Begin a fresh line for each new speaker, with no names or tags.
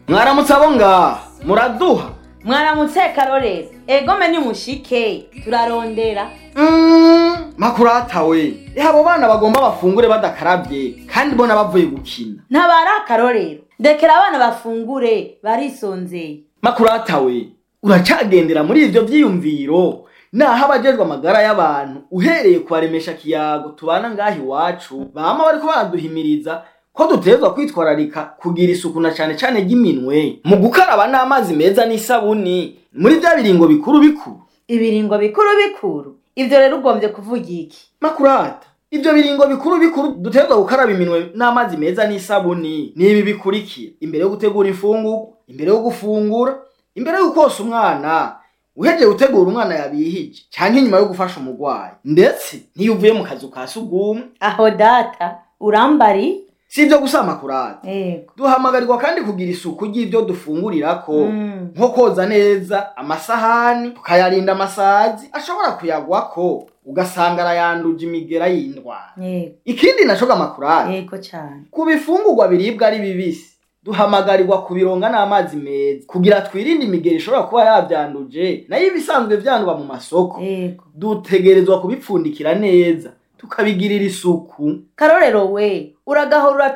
Mwaramutse abo ngaha muraduha.
Mwaramutse Karorero, egome nimushike turarondera.
Makurata we, abo bana bagomba bafungure badakaravye kandi bona bavuye gukina.
Ntabara Karorero, ndekera abana bafungure barisonzeye.
Makurata we, uracagendera muri ivyo vyiyumviro naho abajejwe amagara y'abantu uhereye kubaremesha kiyago tubana ngaha iwacu bama bariko baraduhimiriza ko dutegerezwa kwitwararika kugira isuku na cane cane ry'iminwe mu gukaraba n'amazi meza n'isabuni muri vya biringo bikuru bikuru.
Ibiringo bikuru bikuru, ivyo rero ugombye kuvuga iki?
Makurata, ivyo biringo bikuru bikuru dutegerezwa gukaraba iminwe n'amazi meza n'isabuni ni ibi bikurikira: imbere yo gutegura imfungurwa, imbere yo gufungura, imbere yo kosa umwana, uhejeje gutegura umwana yabihije, canke inyuma yo gufasha umurwayi, ndetse n'iyo uvuye mu kazu ka sugumwe.
Aho data urambari.
Si ivyo gusa Makurata,
Yego.
duhamagarirwa kandi kugira isuku ry'ivyo dufungurirako, nko koza neza amasahani tukayarinda amasazi ashobora kuyagwako ugasanga arayanduje imigera y'indwara.
Yego.
Ikindi naco ga Makurata,
Yego cane.
ku bifungurwa biribwa ari bibisi duhamagarirwa kubironga n'amazi meza kugira twirinde imigera ishobora kuba yavyanduje, nayo ibisanzwe vyandwa mu masoko
Yego.
dutegerezwa kubipfundikira neza tukabigirira isuku.
Karorero we, uragahora.